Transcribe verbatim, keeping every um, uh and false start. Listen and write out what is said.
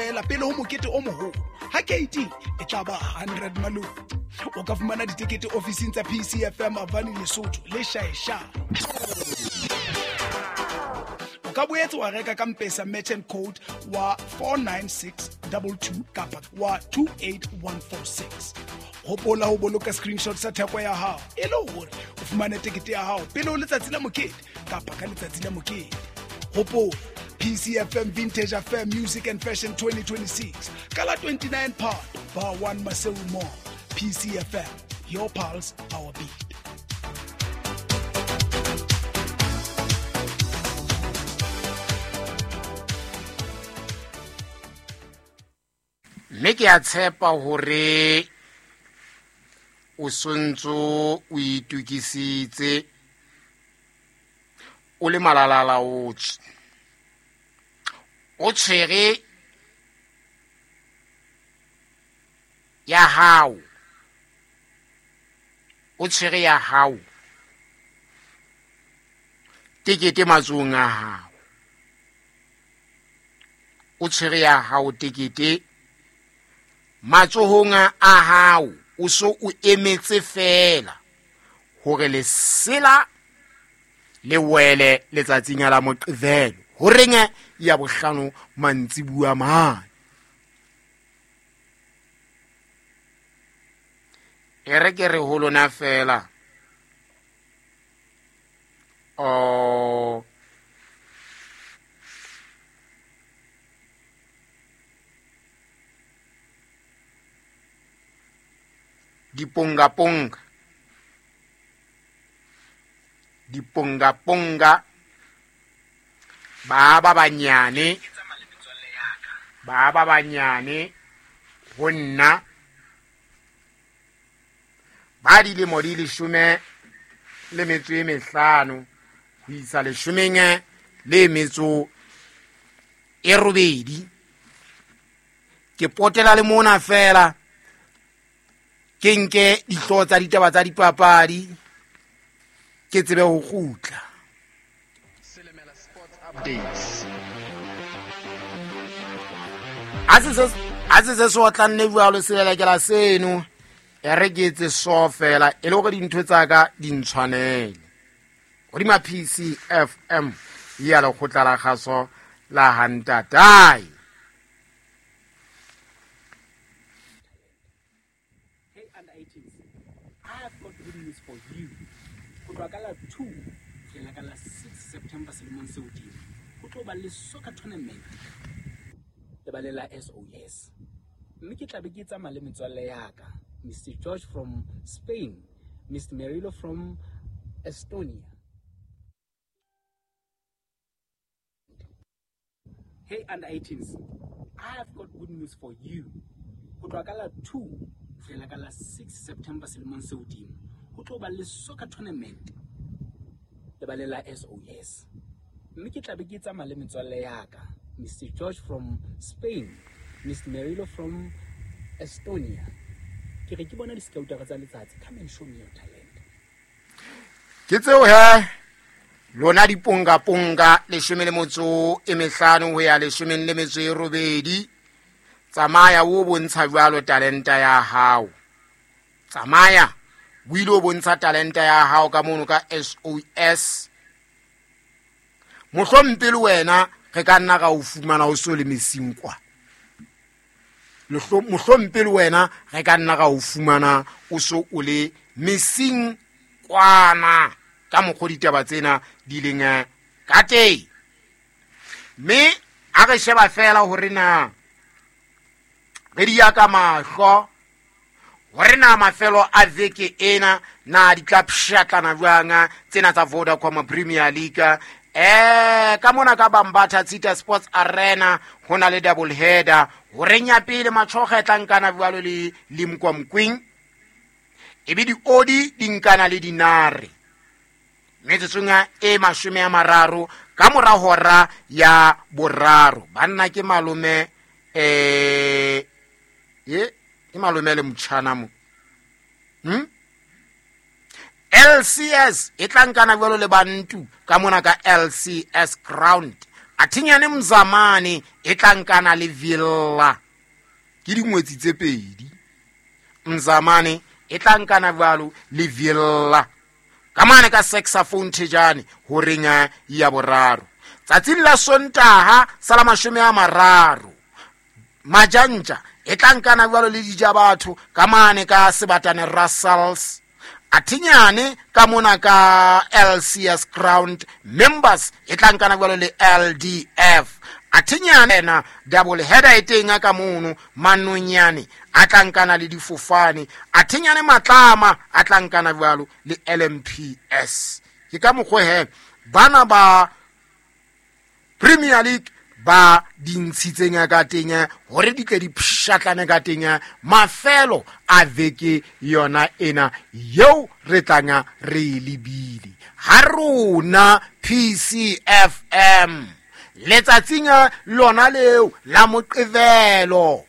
feela pele ho mokete o moholo. Ha keiting e tla ba hundred malome. O ka fumana ditekete ofising tsa P C F M Avani Lesotho le Shaesha. O ka boetse wa reka ka Mpesa merchant code wa four nine six two two kapa wa two eight one four six. Hopola ho boloka screenshot sa theko ya hao e le hore o fumane tekete ya hao pele ho letsatsi la mokete kapa ka letsatsi la mokete. Hopola P C F M Vintage Affair Music and Fashion twenty twenty-six ka la twenty-nine Phato Bar one Maseru Mall. P C F M, your pulse, our beat. Mme ke a tshepa hore o sontso o itukisitse o le malalala o tswe. O tshwere ya hao. O tshwere ya hao. Tekete matsohong a hao. O tshwere ya hao tekete matsohong a hao. O so o emetse fela hore lesela le wele letsatsing la Moqebelo horeng ya bohlano mantsibuya mane. E re ke re ho lona fela o diponga ponga diponga ponga ba ba banyane ba ba banyane ho nna ba dilemo di leshome le metso e mehlano ho isa leshomeng le metso e robedi. Ke potela le mona fela ke nke dihlooho tsa ditaba tsa dipapadi ke tsebe ho kgutla. A se a se se otlanne jwalo selelekela seno e re ke etse so fela e le hore dintho tsa ka di ntshwanele. Hodima P C F M ya lekgotla la kgaso la Hantatai. two ka la six September selemong se hodimo ho tlo ba le soccer tournament lebaleng la S O S, mme ke tla be ke tsamaya le metswalle ya ka Mister George from Spain, Mister Merilo from Estonia. Hey under eighteens, I have got good news for you. Ho tloha ka la two fihlela ka la six September selemong se hodimo ho tlo ba le soccer tournament lebaleng la S O S, mme ke tla be ke tsamaya le metswalle ya ka Mister George from Spain, Mister Merilo from Estonia. Ke re ke bona di-scoutara tsa letsatsi, come and show me your talent. Ke tseo he lona diponga ponga leshome le motso e mehlano ho ya leshomeng le metso e robedi. Tsamaya o bontsha jwalo talenta ya hao. Tsamaya o ile o bontsha talenta ya hao ka mono ka S O S. Mohlompe le wena re ka nna ra o fumana o so le mesing kwa. Mohlompe le wena re ka nna ra o fumana o so o le mesing kwana ka mokgwa ditaba tsena di leng ka teng. Mme a re sheba fela hore na re di ya ka mahlo hore na mafelo a veke ena na di tla pshatlana jwang tsena tsa Vodacom Premier League. Eh ka mona ka Bambatha Tsita Sports Arena ho na le double header horeng ya pele Matshoga e tla nkana jwalo le Limkwamkwing, ebe di odi di nkana le dinare metsotsong e mashome a mararo ka mora hora ya boraro. Banna ke malome eh ye ke malome le motjhana mo hm L C S e tla nkana jwalo le Bantu ka mona ka L C S ground. Athinyane Mzamane e tla nkana le Villa, ke dingwetsi tse pedi. Mzamane e tla nkana jwalo le Villa ka mane ka saxophone thejane horeng ya boraro. Tsatsing la Sontaha sa la mashome a mararo, Majantja e tla nkana jwalo le Dijabatho ka mane ka Sebatane Russells. Athinyane ka mona ka L C S Ground Members e tla nkana jwalo le L D F. Athinyane na double header e teng ka mono, Manonyane a tla nkana le Difofane. Athinyane Matlama a tla nkana jwalo le L M P S. Ke ka mokgwa he bana ba Premier League ba di ntshitseng ka teng hore di tle di pshatlane ka teng mafelo a veke yona ena eo re tlanga re e lebile. Ha rona P C F M letsatsing lona leo la Moqebelo